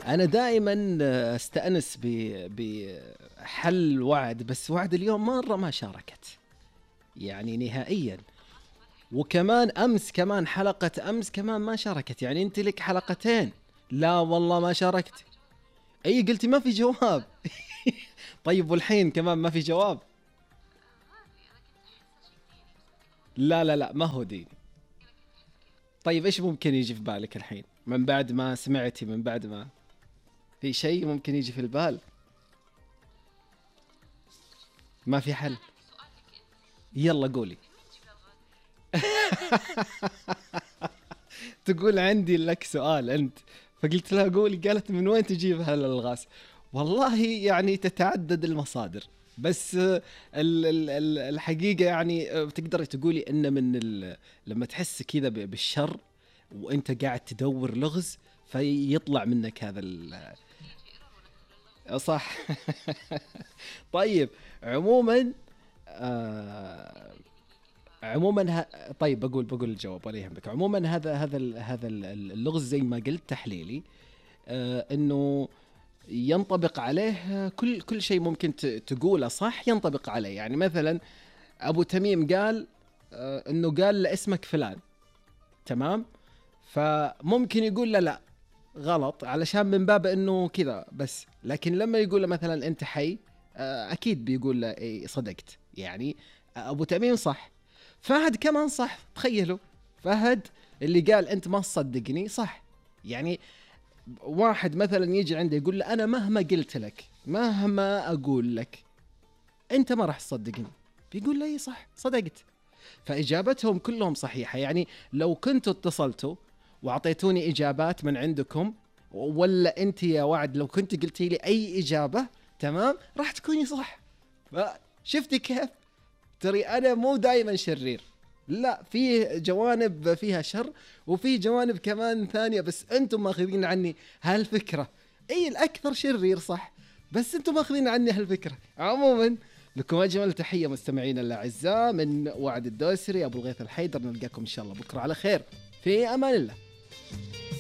أنا دائما استأنس بحل وعد، بس وعد اليوم مرة ما شاركت يعني نهائيا. وكمان أمس، كمان حلقة أمس كمان ما شاركت. يعني أنت لك حلقتين. لا والله ما شاركت. أي قلتي ما في جواب. طيب والحين كمان ما في جواب. لا لا لا، ما هو ديني. طيب إيش ممكن يجي في بالك الحين من بعد ما سمعتي، من بعد ما في شيء ممكن يجي في البال؟ ما في حل. يلا قولي. تقول عندي لك سؤال أنت، فقلت لها قولي، قالت من وين تجيب هالألغاز؟ والله يعني تتعدد المصادر، بس الحقيقة يعني بتقدري تقولي إن لما تحس كذا بالشر وأنت قاعد تدور لغز فيطلع منك هذا صح. طيب عموما آه طيب بقول الجواب ولا يهمك. عموما هذا اللغز زي ما قلت تحليلي، انه ينطبق عليه كل شيء ممكن تقوله صح ينطبق عليه. يعني مثلا ابو تميم قال انه قال لاسمك فلان، تمام؟ فممكن يقول لا غلط علشان من باب انه كذا بس، لكن لما يقول له مثلا انت حي، اكيد بيقول له إيه صدقت. يعني ابو تميم صح، فهد كمان صح. تخيلوا فهد اللي قال انت ما تصدقني صح. يعني واحد مثلا يجي عنده يقول له انا مهما قلت لك، مهما اقول لك انت ما راح تصدقني، بيقول له اي صح صدقت. فاجابتهم كلهم صحيحه. يعني لو كنتوا اتصلتوا واعطيتوني اجابات من عندكم، ولا انت يا وعد لو كنت قلتي لي اي اجابه، تمام، راح تكوني صح. شفتي كيف؟ ترى أنا مو دائما شرير، لا، في جوانب فيها شر وفي جوانب كمان ثانية، بس أنتم ماخذين عني هالفكرة. أي الأكثر شرير صح، بس أنتم ماخذين عني هالفكرة. عموما لكم أجمل تحية مستمعين الأعزاء من وعد الدوسري أبو الغيث الحيدر. نلقاكم إن شاء الله بكرة على خير، في أمان الله.